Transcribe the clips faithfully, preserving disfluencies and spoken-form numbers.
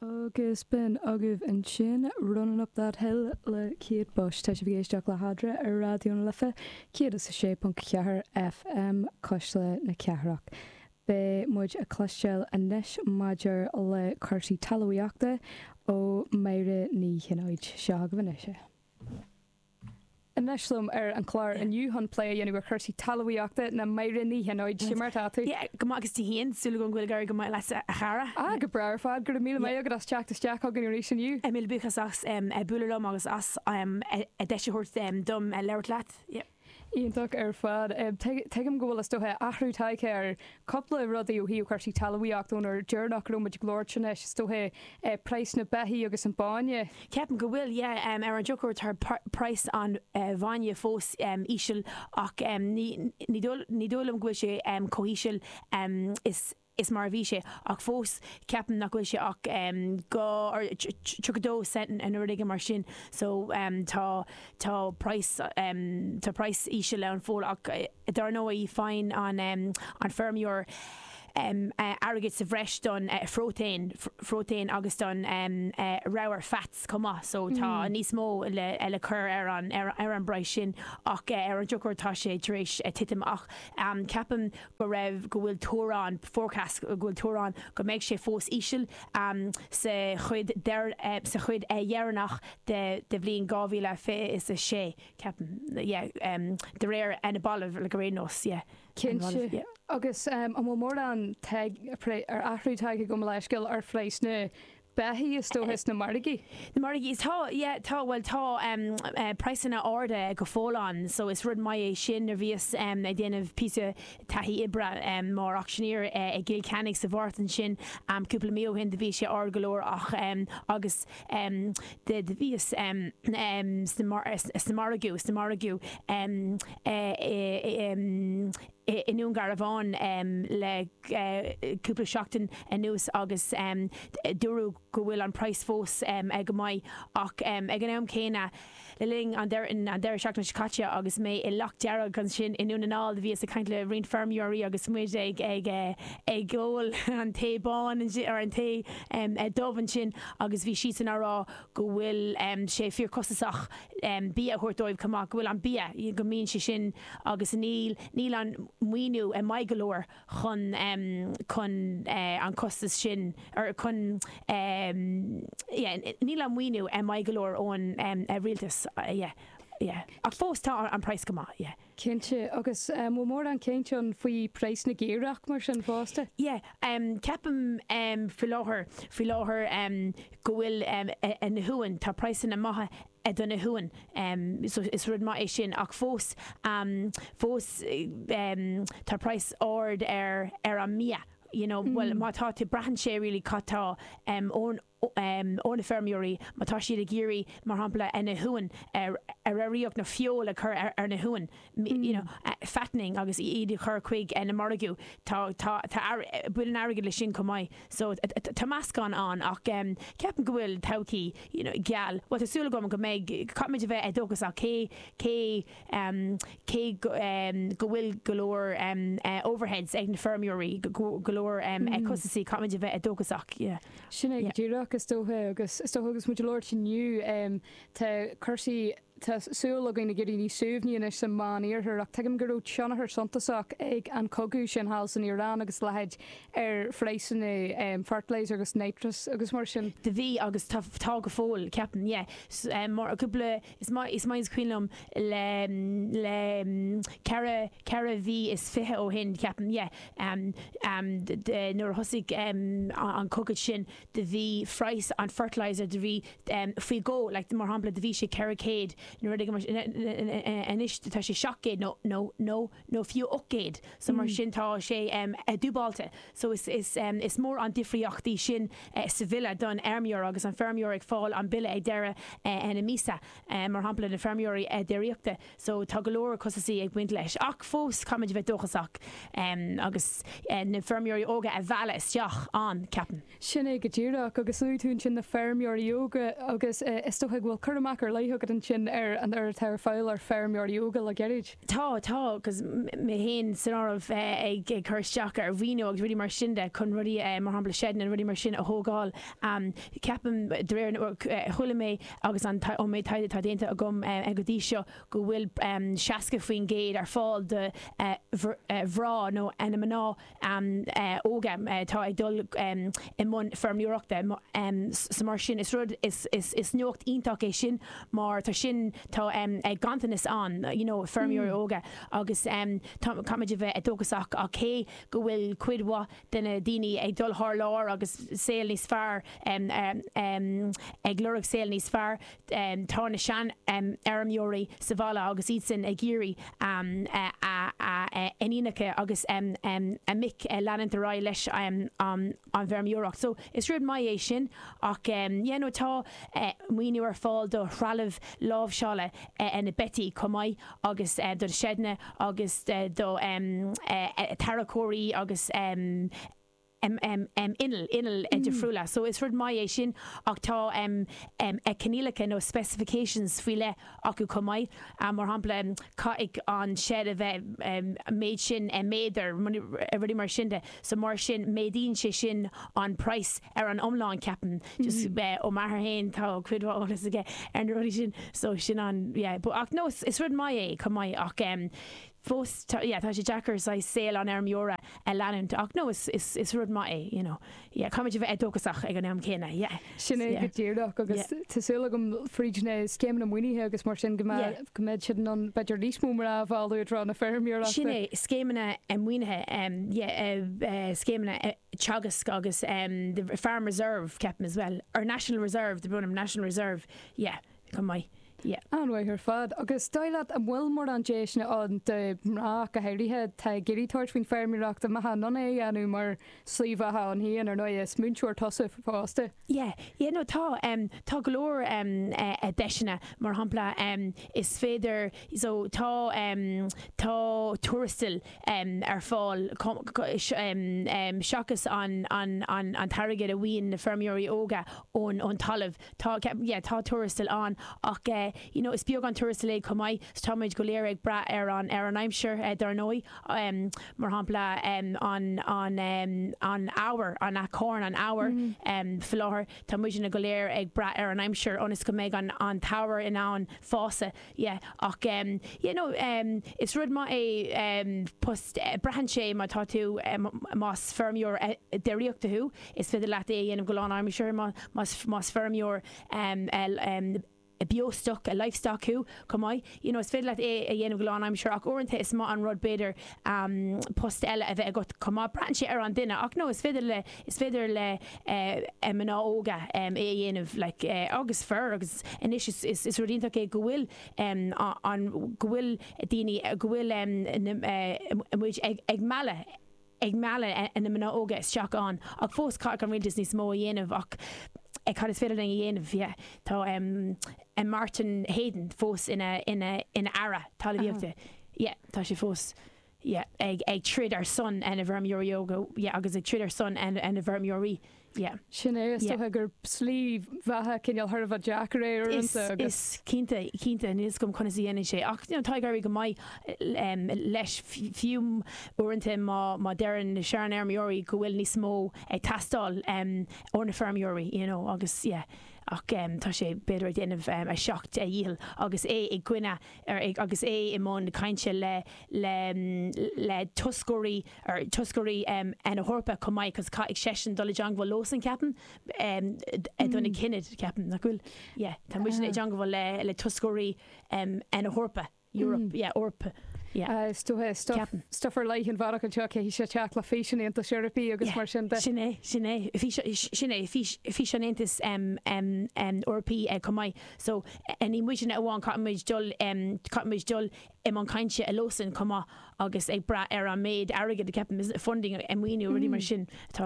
Agus b'in agaibh ansin Running Up That Hill le Kate Bush. Tá sibh ag éisteacht le hEadra ar Raidió na Life céad is a sé ponc ceathair F M Cuisle na Cathrach. Beidh muid ag cloisteáil anois maidir le cúrsaí talmhaíochta ó Máire Ní Chinnéide. Seo agaibh anois é. Anois liom ar an chlár inniu chun plé a dhéanamh ar chúrsaí talmhaíochta ná Máire Ní Chinnéide. Mar tá tú? Yeah, go maith agus tú féin. Súil agam go bhfuil ag éirí go maith leat, a chara. Ah, go breá ar fad. Go raibh míle maith agat as teacht isteach chugainn arís inniu. Míle buíochas as bualadh liom agus as deis a thabhairt dom labhairt leat. Yeah. Iontach ar fad. Tuigim go bhfuil is dócha athrú tagtha ar cúpla rudaí ó thaobh cúrsaí talmhaíochta ón uair dheireanach go raibh muid ag labhairt anois, is dócha praghas na beithí agus an bainne. Ceapaim go bhfuil, yeah, ar an drochuair tá praghas an bhainne fós íseal ach ní ní dóigh liom go bhfuil sé chomh híseal is is mar a bhí sé ach fós ceapaim nach bhfuil sé ach go tríocha dó cent nó rud éigin mar sin, so tá tá praghas tá praghas íseal ann fós ach dar ndóigh faigheann an an feirmeoir airgead sa bhreis don phróitéin phróitéin agus don ramhar fats chomh maith, so tá níos mó le le cur ar an ar ar an bpraghas sin ach ar an drochuair tá sé tar éis titim ach ceapaim go raibh go bhfuil tuar ann, forecast go bhfuil tuar ann go mbeidh sé fós íseal sa chuid sa chuid dheireanach de de bhliain dhá mhíle fiche is a sé, ceapaim, yeah, de réir na balbh le go raon nós, yeah. Cinnte. Agus an bhfuil mórán ar athrú tagtha go leisceal ar phraghas na beithí is dócha sna margaí? Na margaí, tá, yeah, tá, bhuel tá praghsanna arda go fóill ann, so is rud maith é sin. Nuair bhíos ag déanamh píosa taithí oibre mar auctioneer i gCill Chainnigh sa Mhárta ansin cúpla mí ó shin, do bhí sé ard go leor ach agus de do bhíos sna margaí sna margaí i nDún Garbhán le cúpla seachtain anuas agus dúradh go bhfuil an praghas fós ag go maith ach ag an am céanna le linn an deireadh seachtaine seo caite agus mé i Loch Dearg ansin i nDún na nGall, bhíos ag caint le roinnt feirmeoirí agus muid ag ag ag ól an tae bán ar an tae dubh ansin agus bhí siadsan á rá go bhfuil sé fíorchostasach bia a thabhairt dóibh chomh maith, go bhfuil an bia, go mbíonn sé sin agus níl níl an maoiniú maith go leor chun chun an costas sin ar chun níl an maoiniú maith go leor ón rialtas, yeah, yeah. Ach fós tá an praghas go maith, yeah. Cinnte, agus bhfuil mórán cinnte ann faoi praghas na gcaorach mar sin fosta? Yeah, um, ceapaim um, faoi láthair faoi láthair um, go bhfuil um, na huain, tá praghsanna maithe do na huain um, so is rud maith é sin ach fós um, fós um, tá praghas ard ar ar an mbia. You know, mm. Well, má tá tú braitheann sé really cad tá um, ón um, ó na feirmeoirí má tá siad ag iarraidh, mar shampla, na huain ar ar raocht na feoil a chur ar, ar na huain mm. you know, uh, fattening agus iad a chur chuig uh, na margaí, tá tá tá bhfuil an airgead le sin chomh maith, so tá meascán ann ach um, ceapaim go bhfuil todhchaí you know, geal. Well, tá súil agam go mbeidh caithfimid a bheith dóchasach cé cé um, cé go, um, go bhfuil go leor um, uh, overheads ag na feirmeoirí, go, go leor um, mm. costasaí, caithfimid a bheith dóchasach. Yeah. Sin é díreach is dócha agus is dócha agus muid ag labhairt inniu um, tá cúrsaí, tá súil againn ag éirí níos suaimhní anois sa Meánoirthear ach tuigim go raibh tionchar suntasach ag an cogadh sin thall san Iaráin agus leithéid ar phraghsanna um, fertilizer agus nitrous agus mar sin. De bhí agus tá tá go fóill, ceapaim, yeah. Um, mar cúpla is maith is maith is cuimhin liom le le ceithre ceithre mhí is fiche ó shin, ceapaim, yeah. Um, um, nuair a thosaigh um, an cogadh sin de bhí praghas an fertilizer de bhí um, faoi dhó, like, mar shampla de bhí sé ceithre céad nuair anois tá sé seacht gcéad nó nó nó nó fiú ocht gcéad, so mar sin tá sé um, dúbailte, so is is um, is mór an difríocht í sin uh, sa bhille don fheirmeoir agus an feirmeoir ag fáil an bille ag deireadh uh, na míosa, uh, mar shampla na feirmeoirí uh, déiríochta, so tá go leor costasaí ag baint leis ach fós caithfimid bheith dóchasach um, agus uh, na feirmeoirí óga a mhealladh isteach ann, ceapaim. Sin é go díreach agus luaigh tú ansin na feirmeoirí óga agus uh, is dócha go bhfuil cur amach ar leith agat ansin ar an ar atá ar fáil ar feirmeoirí óga le gairid. Tá tá agus mé féin san áireamh ag ag cur isteach ar mhaoiniú agus rudaí mar sin de chun rudaí mar shampla seideanna rudaí mar sin a thógáil. Ceapaim de réir chuala mé agus an ó méid taighde atá déanta agam go dtí seo go bhfuil seasca faoin gcéad ar fáil do mhná nó na mná óga atá ag dul i mbun feirmeoireachta so mar sin is rud is is is nuacht iontach é sin mar tá sin tá ganntanas ann you know feirmeoirí óga agus caithfimid a bheith dóchasach ach cé go bhfuil cuid mhaith de na daoine ag dul thar lear agus saol níos fearr ag lorg saol níos fearr tá na seanfheirmeoirí sa bhaile agus iad sin ag iarraidh a n-iníonacha agus a mic leanúint ar aghaidh leis an bhfeirmeoireacht. So is rud maith é sin ach yeah no tá maoiniú ar fáil do threalamh láimhseála na beithígh chomh maith agus do seideanna agus do tarracóirí agus innill innill difriúla. So is rud maith é sin ach tá coinníollacha nó specifications faoi leith acu chomh maith mar shampla caithfidh an shed a bheith méid sin méadar rudaí mar sin de so mar sin méadaíonn sé sin an price ar an iomlán ceapaim just ó m'athair féin tá cuid mhaith eolas aige ar na rudaí sin so sin an yeah but ach no is rud maith é chomh maith ach fós yeah tá sé deacair saol an fheirmeora a leanúint ach no is is is rud maith é you know yeah caithfimid a bheith dóchasach ag an am céanna yeah Sin é go díreach agus tá súil agam fríd na scéimeanna maoinithe agus mar sin go go mbeidh siad an b'fhéidir níos mó mar a bhálú na feirmeoireachta. Sin é scéimeanna maoinithe scéimeanna Teagasc agus the Farm Reserve ceapaim as well or National Reserve the Brunham National Reserve yeah chomh maith. Yeah. An-mhaith ar fad agus dóigh leat an bhfuil mórán deiseanna ann do mhná go háirithe atá ag iarraidh tabhairt faoin feirmeoireacht amach ann é a dhéanamh mar slí bheatha ann féin ar ndóigh is múinteoir tusa fosta. Yeah, yeah no tá um, tá go leor um, uh, deiseanna mar shampla um, is féidir so tá um, tá tuarastal um, ar fáil um, um, seachas an, an, an, an t-airgead a bhíonn na feirmeoirí óga ón, ón talamh tá yeah, tá tuarastal ann ach uh, you know, is beag an tuarastal é chomh maith so táimid go léir ag brath ar an ar an aimsir uh, dar ndóigh um, mar shampla um, an an um, an ábhar an acorn an ábhar mm. um, faoi láthair tá muidne go léir ag brath ar an aimsir ionas go mbeidh an an t-ábhar in ann fás yeah, ach um, you know, um, is rud maith é um, post uh, braitheann sé má tá tú um, más feirmeoir uh, déiríochta thú is féidir leat é a dhéanamh go lánaimseartha más más feirmeoir um, um, beostoc a livestock thú chomh maith you know, is féidir leat é a dhéanamh go lánaimseartha ach uaireanta is maith an rud b'fhéidir um, post eile a bheith agat chomh maith braitheann sé ar an duine ach no is féidir le is féidir le uh, mná óga um, é a dhéanamh like, uh, agus fir agus anois is, is, is rud iontach é go bhfuil um, an go bhfuil daoine go bhfuil um, uh, muid ag, ag mealladh ag mealladh na mná óga isteach ann ach fós caithfidh an rialtas níos mó a dhéanamh ach ag cad is féidir linn a dhéanamh yeah. Tá um, Martin Heydon fós ina ina ina aire talmhaíochta. Yeah, tá sé fós yeah, ag ag troid ar son na bhfeirmeoirí óga yeah, agus ag troid ar son na bhfeirmeoirí. Yeah. Sin é is dócha gur slí bheatha cineál thar a bheith deacair é uaireanta agus. Is cinnte cinnte níl a fhios agam conas a dhéanann sé ach you know, tá ag éirí go maith um, leis fiú uaireanta má má deireann na seanfheirmeoirí go bhfuil níos mó ag teastáil um, ó na feirmeoirí you know, agus yeah. ach um, tá sé b'fhéidir ag déanamh um, a seacht a dhícheall agus é i gcoinne ar, agus é i mbun cainte le le le toscairí ar toscairí um, na hEorpa chomh maith cos caithfidh seisean dul i dteagmháil leosan ceapaim um, do na cinid ceapaim nach bhfuil yeah, tá muid i dteagmháil le le toscairí um, na hEorpa Europe mm. yeah, Eorpa yeah. Is dócha stuff stuff ar leith an bhealach anseo caithfidh sé teacht le fís an Aontais Eorpaigh agus mar sin de. Sin é sin é sin é fís an Aontais Eorpaigh chomh maith so ní muidne amháin caithfimid dul caithfimid dul i mbun cainte leosan chomh maith agus ag brath ar an méid airgead ceapaim funding a maoiniú rudaí mar sin atá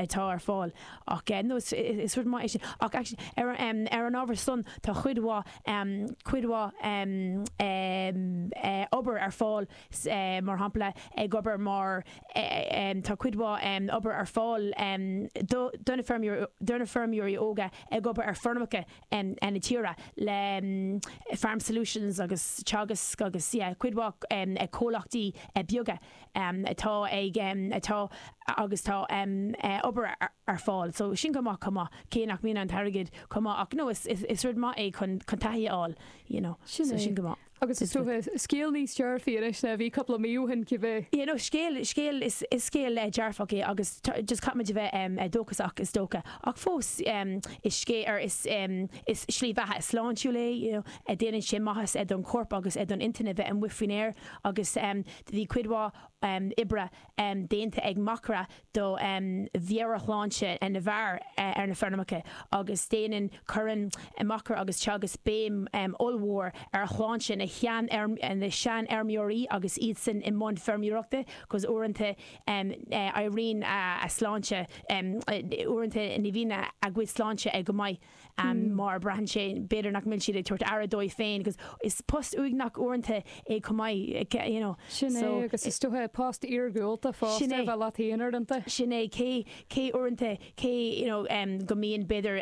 atá ar fáil ach no is is rud maith é sin ach actually ar ar an ábhar san tá cuid mhaith cuid mhaith obair ar fáil mar shampla ag obair mar tá cuid mhaith obair ar fáil do na do na feirmeoirí óga ag obair ar feirmeacha na tíre le Farm Solutions agus Teagasc agus yeah, cuid mhaith comhlachtaí beaga atá ag atá agus tá obair ar fáil. So sin go maith chomh maith cé nach mbíonn an t-airgead chomh maith ach no is is rud maith é chun chun taithí a fháil you know. Sin so é. sin go maith. Agus is dócha scéal níos dearfaí anois ná bhí cúpla mí ó shin cibé. Yeah, no, scéal scéal is is scéal eh, dearfach é agus tá- just caithfimid a bheith um, eh, dóchasach is dócha. Ach fós um, is scéal ar is um, is slí bheatha sláintiúil é, you know, eh, déanann sé maitheas eh, don corp agus eh, don intinn a bheith amuigh faoin aer agus um, bhí cuid mhaith um, oibre um, déanta ag Macra do um, mheabhairshláinte na bhfear uh, ar na feirmeacha agus déanann cuireann Macra agus Teagasc béim um, ollmhór ar shláinte na shean na seanfheirmeoirí agus iad san i mbun feirmeoireachta, cos uaireanta um, uh, éiríonn a, a sláinte um, uaireanta ní bhíonn a, a gcuid sláinte ag go maith um, mm. mar braitheann sé b'fhéidir nach mbíonn siad ag tabhairt aire dóibh féin, cos is post uaigneach uaireanta é chomh maith you know. Sin é agus is dócha post iargúlta Sin fosta é. bheith leat féin uaireanta. Sin é cé cé uaireanta cé you know, um, go mbíonn b'fhéidir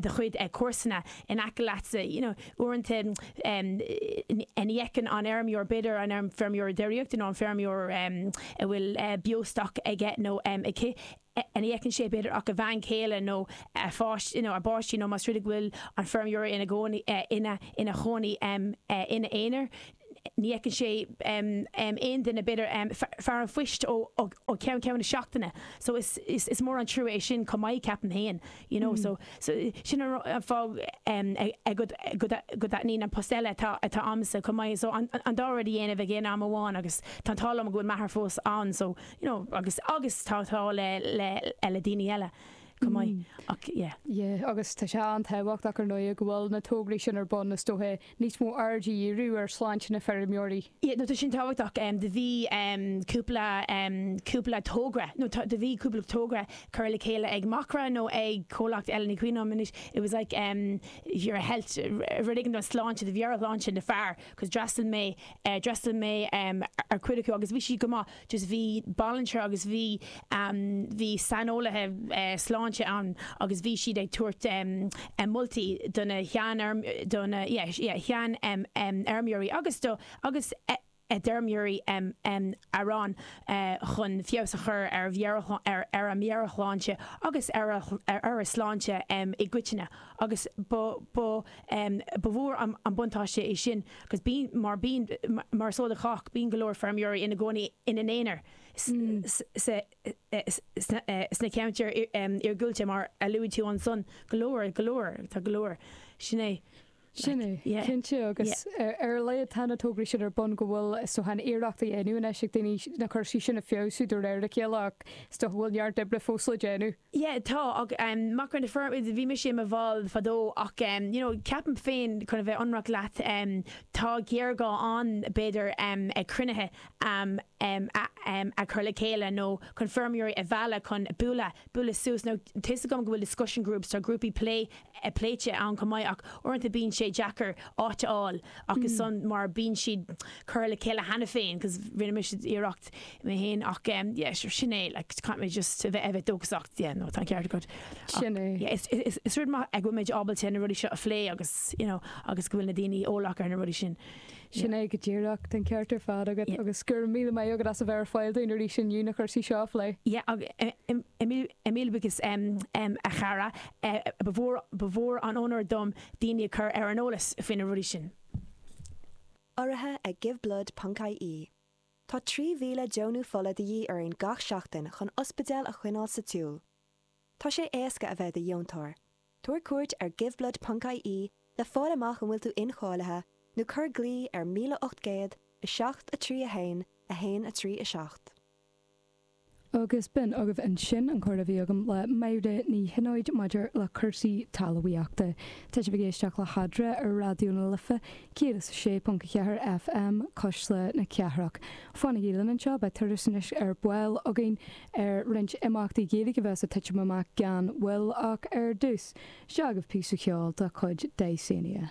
do chuid comharsana in aice leatsa you know, uaireanta um, ní fheiceann an feirmeoir b'fhéidir an feirmeoir déiríochta nó an feirmeoir um, a bhfuil uh, beostoc aige nó um, aici ní fheiceann sé b'fhéidir ach a bhean chéile nó a pháist you know, a bpáistí nó más rud é go bhfuil an feirmeoir ina gcónaí uh, ina ina chónaí um, uh, ina aonar. Ní fheiceann sé um, um, aon duine b'fhéidir um, fear an phoist ó ó ó ceann ceann na seachtaine. So is, is, is mór an trua é sin chomh maith ceapaim féin, you know, mm. so, so sin an fáth um, go go dtaitníonn an post eile atá atá agamsa chomh maith so an, an dá rud a dhéanamh ag aon am amháin agus tá an t-ádh liom go bhfuil m'athair fós ann so you know, agus agus tá tá le le le daoine eile chomh maith ach yeah. Yeah, agus tá sé an-tábhachtach ar ndóigh go bhfuil na tograí sin ar bun is dócha níos mó aird a dhíriú ar sláinte na feirmeoirí. Yeah, no, tá sin tábhachtach um, do bhí um, cúpla um, cúpla togra no tá- do bhí cúpla togra curtha le chéile ag Macra nó ag comhlacht eile ní cuimhin liom anois it was like um, your health rud éigin don sláinte do mheabhairshláinte na fear cos d'fhreastail mé uh, d'fhreastail mé um, ar cuid acu agus bhí sí go maith just bhí volunteer agus bhí um, bhí saineolaithe uh, sláinte ann agus bhí siad ag tabhairt um, um, moltaí do na shean do na yeah, yeah, shean um, um, fheirmeoirí agus do agus eh, d'fheirmeoirí um, um, araon uh, chun feabhas a chur ar mheabhair ar, ar a meabhairshláinte agus ar a, ar, ar a sláinte um, i gcoitinne agus ba ba um, ba mhór an, an buntáiste é sin agus bíonn mar bíonn mar so de chách bíonn go leor feirmeoirí ina gcónaí ina n-aonar sna ceantair iargúlta mar a luaigh tú ansan go leor go leor tá go leor sin é. Sin é yeah. cinnte agus ar le tá na tograí sin ar bun go bhfuil so han iarrachtaí á ndéanamh ag daoine na cúrsaí sin a fheabhsú de réir a chéile ach is dócha go bhfuil neart oibre fós le déanamh. Yeah, tá ach um, Macra na Feirme bhí mise i mo bhall fadó ach um, you know, ceapaim féin chun a bheith ionraic leat um, tá géarghá ann b'fhéidir um, ag cruinnithe um, um, a, um, a chur le chéile nó chun feirmeoirí a mhealladh chun bualadh bualadh suas nó tá fhios agam go bhfuil discussion groups tá grúpaí plé pléite ann chomh maith ach uaireanta bíonn sé deacair áit a fháil agus mm. mar bíonn siad curtha le chéile cheana féin, cos rinne mise iarracht mé féin ach um, yeah, sure, sin é like, can't mé just a bheith a bheith dóchasach yeah, no, tá ceart agat. Sin é. Yeah, is, is, is rud maith ag bhfuil muid ábalta na rudaí seo a phlé agus you know, agus go bhfuil na daoine eolach ar na rudaí sin. Sin é go díreach an ceart ar fad agat Yeah. agus gur míle maith agat as a bheith ar fáil dúinn arís inniu na cúrsaí seo a phlé. Yeah, ag míle buíochas um, um, a chara uh, ba mhór ba mhór an onóir dom daoine a chur ar an eolas faoi na rudaí sin. Urraithe ag giveblood.ie. Tá trí mhíle deonú fola de dhíth orainn gach seachtain chun ospidéal a choinneáil sa tsiúl. Tá sé éasca a bheith i do dheontóir. Tabhair cuairt ar giveblood.ie le fáil amach an bhfuil tú incháilithe nó cuir glao ar míle ocht gcéad a seacht a trí a haon a haon a trí a seacht. Agus b'in agaibh ansin an comhrá a bhí agam le Máire Ní Shinóid maidir le cúrsaí talmhaíochta. Tá sibh ag éisteacht le hEadra ar Raidió na Life céad is a sé ponc a ceathair FM Cuisle na Cathrach. Fanaigí linn anseo beidh turas anois ar ball againn ar roinnt imeachtaí Gaeilge a bheas ag titim amach gan mhoill ach ar dtús. Seo agaibh píosa ceoil de chuid Dysania.